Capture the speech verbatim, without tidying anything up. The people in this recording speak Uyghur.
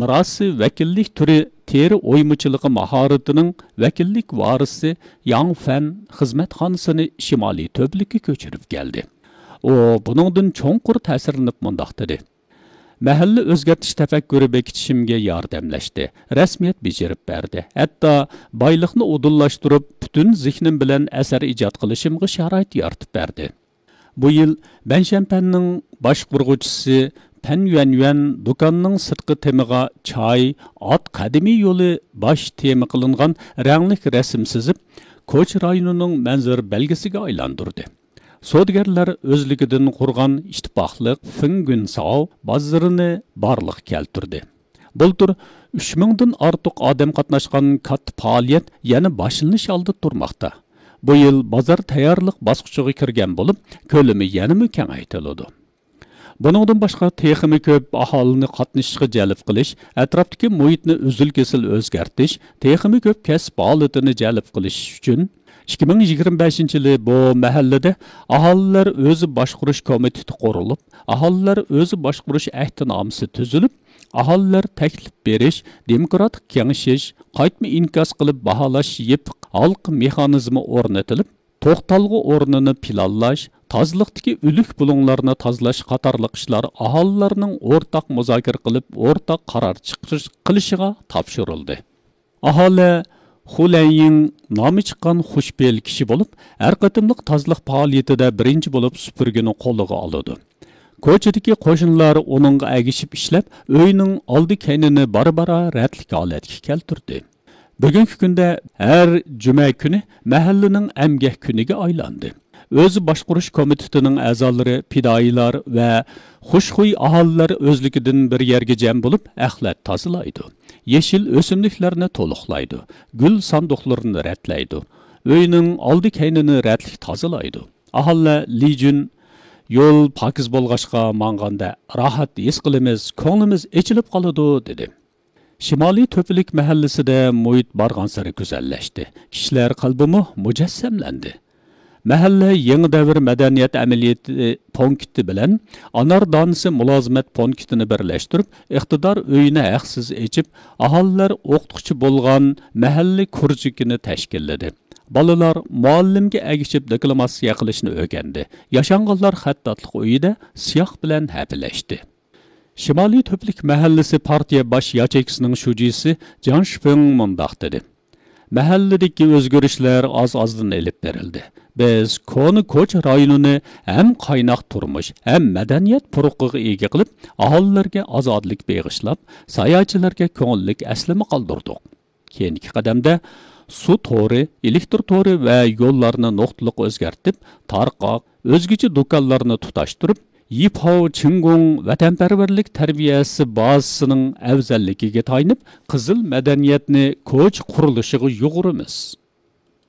مىراسى ۋەكىللىك تۈرى تېرە ئويمىچىلىقى ماھارىتىنىڭ ۋەكىللىك ۋارىسى ياڭ فەن خىزمەتخانىسىنى شىمالىي تۆپىلىككە كۆچۈرۈپ كەلدى. ئۇ بۇنىڭدىن چوڭقۇر تەسىرلىنىپ مۇنداق دېدى: مەھەللە ئۆزگەرتىش تەپەككۇرى بېكىتىشىمگە ياردەملەشتى، رەسمىيەت بېجىرىپ بەردى، ھەتتا بايلىقنى ئۇدۇللاشتۇرۇپ، پۈتۈن زېھنىم بىلەن ئەسەر ئىجاد قىلىشىمغا شارائىت يارىتىپ بەردى. بۇ يىل بەنشەنپەننىڭ باشقۇرغۇچىسى پەن يۈەنيۈەن دۇكاننىڭ سىرتقى تېمىغا چاي، ئات قەدىمىي يولى باش تېما قىلىنغان رەڭلىك رەسىم سىزىپ، كوچا رايونىنىڭ مەنزىرە بەلگىسىگە ئايلاندۇردى. سودىگەرلەر ئۆزلۈكىدىن قۇرغان ئىتتىپاقلىق فېڭگۈنساۋ بازىرىنى بارلىققا كەلتۈردى. بۇلتۇر ئۈچ مىڭدىن ئارتۇق ئادەم قاتناشقان كاتتا پائالىيەت يەنە باشلىنىش ئالدىدا تۇرماقتا. بۇ يىل بازار تەييارلىق باسقۇچىغا كىرگەن بولۇپ، كۆلىمى يەنىمۇ كېڭەيتىلىدۇ. بۇنىڭدىن باشقا، تېخىمۇ كۆپ ئاھالىنى قاتنىشىشقا جەلپ قىلىش، ئەتراپتىكى مۇھىتنى ئۈزۈل-كېسىل ئۆزگەرتىش، تېخىمۇ كۆپ كەسىپ ھالىتىنى جەلپ قىلىش ئۈچۈن، ئىككى مىڭ يىگىرمە بەشىنچى يىلى بۇ مەھەللىدە ئاھالىلەر ئۆزى باشقۇرۇش كومىتېتى قۇرۇلۇپ، ئاھالىلەر ئۆزى باشقۇرۇش ئەھدىنامىسى تۈزۈلۈپ، ئاھالىلەر تەكلىپ بېرىش، دېموكراتىك كېڭىشىش، قايتما ئىنكاس قىلىپ باھالاش يېپىق ھالقا مېخانىزمى ئورنىتىلىپ، توختالغۇ ئورنىنى پىلانلاش، تازىلىقتىكى ئۆلۈك بۇلۇڭلارنى تازىلاش قاتارلىق ئىشلار ئاھالىلەرنىڭ ئورتاق مۇزاكىرە قىلىپ، ئورتاق قارار چىقىرىش قىلىشىغا تاپشۇرۇلدى. ئاھالە خۇ لەنيىڭ نامى چىققان خۇشپېئىل كىشى بولۇپ، ھەر قېتىملىق تازىلىق پائالىيىتىدە بىرىنچى بولۇپ سۈپۈرگىنى قولىغا ئالىدۇ. كوچىدىكى قوشنىلار ئۇنىڭغا ئەگىشىپ ئىشلەپ، ئۆينىڭ ئالدى كەينىنى بارا-بارا رەتلىك ھالەتكە كەلتۈردى. بۈگۈنكى كۈندە ھەر جۈمە كۈنى مەھەللىنىڭ ئەمگەك كۈنىگە ئايلاندى. ئۆزى باشقۇرۇش كومىتېتىنىڭ ئەزالىرى، پىدائىيلار ۋە خۇشخۇي ئاھالىلەر ئۆزلۈكىدىن بىر يەرگە جەم بولۇپ، ئەخلەت تازىلايدۇ، يېشىل ئۆسۈملۈكلەرنى تولۇقلايدۇ، گۈل ساندۇقلىرىنى رەتلەيدۇ، ئۆينىڭ ئالدى كەينىنى رەتلىك تازىلايدۇ. ئاھالىلەر لىجۈن، يول پاكىز بولغاچقا، ماڭغاندا راھەت ھېس قىلىمىز، كۆڭلىمىز ئېچىلىپ قالىدۇ، دېدى. شىمالىي تۆپىلىك مەھەللىسىدە مۇھىت بارغانسېرى گۈزەللەشتى. كىشىلەر قەلبىمۇ مۇجەسسەملەندى. مەھەللە يېڭى دەۋر مەدەنىيەت ئەمەلىيىتى پونكىتى بىلەن ئانار دانىسى مۇلازىمەت پونكىتىنى بىرلەشتۈرۈپ، ئىقتىدار ئۆيىنى ھەقسىز ئېچىپ، ئاھالىلەر ئوقۇتقۇچى بولغان مەھەللە كۇرژۇكىنى تەشكىللىدى. بالىلار مۇئەللىمگە ئەگىشىپ دېكلاماتسىيە قىلىشنى ئۆگەندى. ياشانغانلار خەتتاتلىق ئۆيىدە سىياھ بىلەن ھەپىلەشتى. شىمالىي تۆپىلىك مەھەللىسى پارتىيە باش ياچېيكىسىنىڭ شۇجىسى جاڭ شىفېڭ مۇنداق دېدى: مەھەللىدىكى ئۆزگىرىشلەر ئاز-ئازدىن ئېلىپ بېرىلدى. بىز كونا كوچا رايونىنى ھەم قايناق تۇرمۇش، ھەم مەدەنىيەت پۇرىقىغا ئىگە قىلىپ، ئاھالىلەرگە ئازادىلىك بېغىشلاپ، ساياھەتچىلەرگە كۆڭۈللۈك ئەسلىمە قالدۇردۇق. كېيىنكى قەدەمدە سۇ تورى، ئېلېكتر تورى ۋە يوللارنى نۇقتىلىق ئۆزگەرتىپ، تارقاق، ئۆزگىچە دۇكانلارنى تۇتاشتۇرۇپ، يىپاۋ چىڭگۇڭ ۋەتەنپەرۋەرلىك تەربىيەسى بازىسىنىڭ ئەۋزەللىكىگە تايىنىپ، قىزىل مەدەنىيەتنى كوچا قۇرۇلۇشىغا يۇغۇرىمىز.